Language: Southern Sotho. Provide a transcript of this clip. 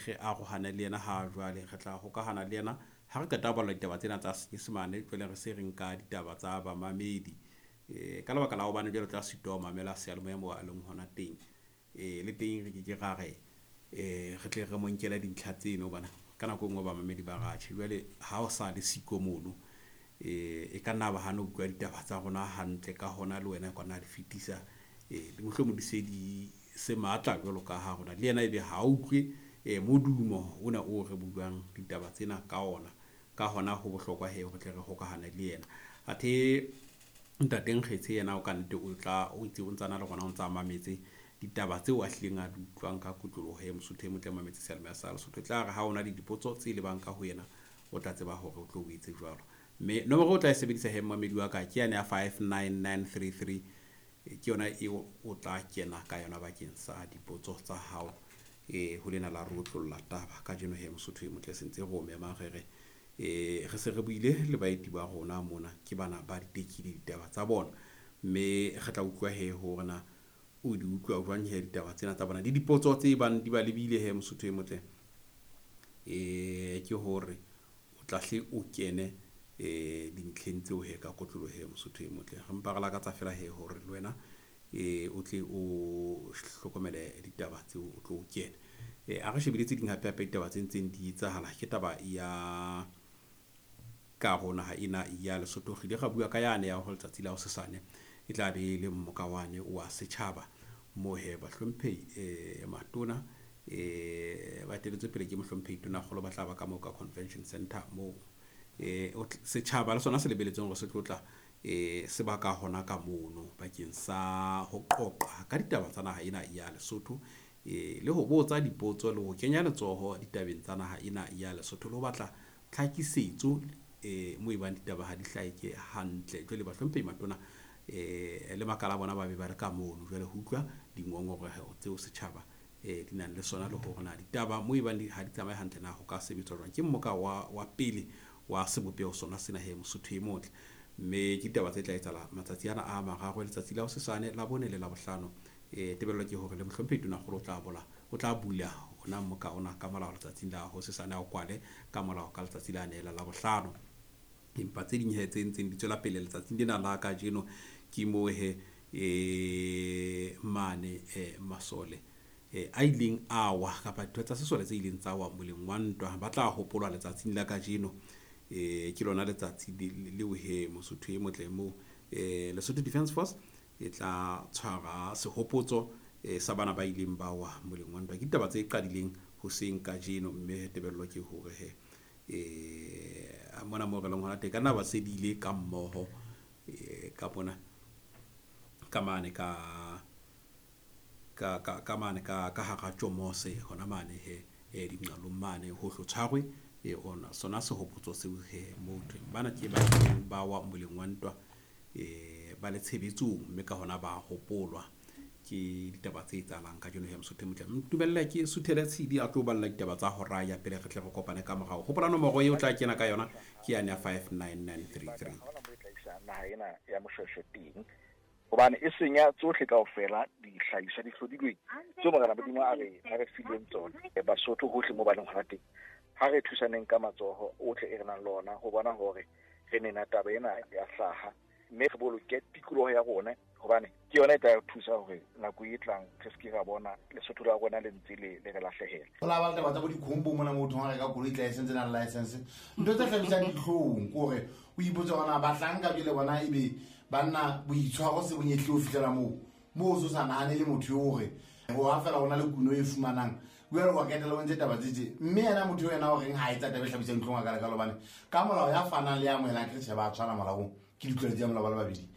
Re arohane le yena ha jwale, re tla hokahana le yena ha re qeta ho bala ditaba tsena tsa Senyesemane. Jwale re se re nka ditaba tsa bamamedi ka lebaka la hobane jwale tla sitwa ho mamela seyalemoya moo a leng hona teng. Le teng re ke ke ra re re tle re mo nkele dintlha tseno, hobane ka nako e nngwe bamamedi ba ratjhe. Jwale ha o sa le siko mono, e ka nna ba hana ho utlwa ditaba tsa rona hantle, ka hona le wena ka nna di fetisa mohlomong di se di se matla jwalo ka ha rona le yena ebe ha utlwe modumo ona o re buang ditaba tsena ka ona. Ka hona ho bohlokwa he hore tle re hokahane le yena. Athe Ntate Nkgetshe yena o ka nnete o tla o itse o ntsana le rona, o ntsa mametse ditaba tseo a hlileng a di utlwang ka kotloloho. He Mosotho e motle, mametse seyalemoya sa Lesotho, e tla re ha ona le dipotso tse lebang ka ho yena, o tla tseba hore o tlo o etse jwalo. Mme nomoro o tla e sebedisa he, mmamedi wa ka, ke yane ya 59933, ke yona eo o tla kena ka yona bakeng sa dipotso tsa hao ho lena la re otlolla taba kajeno. He Mosotho e motle, sentse re o memang, re re re se re buile le baeti ba rona mona, ke bana ba ditekile ditaba tsa bona, mme re tla utlwa he hore na o di utlwa jwang he ditaba tsena tsa bona le dipotso tse bang di ba lebile. He Mosotho e motle, ke hore o tla hle o kene dintlheng tseo he ka kotloloho. He Mosotho e motle, re mpa re lakatsa fela he hore le wena o tle o hlokomele ditaba tseo, o tlo o kene. A re shebile tse ding hape hape ditaba tse ntseng di etsahala. Ke taba ya karo naha ena ya Lesotho. Re ile ra bua ka yane ya hore letsatsi la hosesane e tla be le mmoka wane wa setjhaba, moo he bahlomphehi matona ba eteletswe pele ke mohlomphehi Tonakgolo ba tla ba ka moo ka Convention Center, moo setjhaba le sona se lebeletseng hore se tlo tla se baka hona ka mono bakeng sa ho qoqa ka ditaba tsa naha ena ya Lesotho, le ho botsa dipotso le ho kenya letsoho ditabeng tsa naha ena ya Lesotho, le ho batla tlhakisetso mo ebang ditaba ha di hlaheke hantle. Jwale bahlomphehi matona le makala a bona ba be ba re ka mono jwale ho utlwa dingongoreho tseo setjhaba di nang le sona, le hore na ditaba mo ebang ha di tsamaye hantle na ho ka sebetswa jwang. Ke mmoka wa pele wa sebopeho sona sena he Mosotho e motle, mme ke ditaba tse tla etsahala matsatsi ana a mararo, letsatsi la hosesane, la bone le la bohlano. Tebello ke hore le mohlomphehi Tonakgolo o tla bola, o tla bula ona mmoka ona ka molao letsatsing la hosesane, a o kwale ka molao ka letsatsi la neela la bohlano. Empa tse ding he tse ntseng di tswela pele letsatsing lena la kajeno ke moo he mane masole a ileng a wa, kapa ditho tsa sesole tse ileng tsa wa moleng wa ntwa, ba tla hopolwa letsatsing la kajeno. Ke lona letsatsi leo he Mosotho e motle, moo Lesotho Defence Force e tla tshwara sehopotso sa bana ba ileng ba wa moleng wa ntwa. Ke ditaba tse qadileng hoseng kajeno, mme tebello ke hore he mona moo re leng hona teng ka nna ba se di ile ka mmoho ka mona ka mane ka mane ka hara tjomose hona mane he dinqalong mane, ho hlo tshwarwe ona sona sehopotso seo he moo thweng bana ke ba ba wa moleng wa ntwa ba le tshebetsong, mme ka hona ba hopolwa. Ke ditaba tse etsahalang kajeno he Mosotho e motle. Ntumelle ke Suthele Tshidi a tlo balla ditaba tsa hora ya pele, re tle re kopane ka morao. Hopola nomoro eo tla kena ka yona ke yane ya 59933. Haona mo e tla isa naha ena ya Moshweshwe teng, hobane e senya tsohle kaofela dihlahiswa di hlodilweng tseo Morena Modimo a re fileng tsona. Basotho hohle mo ba leng hona teng, ha re thusaneng ka matsoho otlhe e re nang le ona ho bona hore re nena taba ena ya hlaha, mme re boloke tikoloho ya rona, hobane ke yona e tla re thusa hore nako e tlang re se ke ra bona Lesotho la rona le ntse le re lahlehela. Go la ba taba tsa bo dikhombo mona, motho wa reka koloi license nang license, ntho tse hlabisang ditlhong ke hore o ipotse gona bahlanka jele bona ebe banna boitshwaro se bonyetlile ho fihlela moo o se sa nahane le motho yo hore wa fela go na le kuno e fumanang jale wa ketela o ntse taba tse tje. Mme yena motho yo yena o reng ha etsa taba e hlabisang ditlhong a kalekalo, bane ka molao ya fanang le ya amohelang ke tjhe ba tshwana molaong, ke ditlolo tsa molao ba le babedi.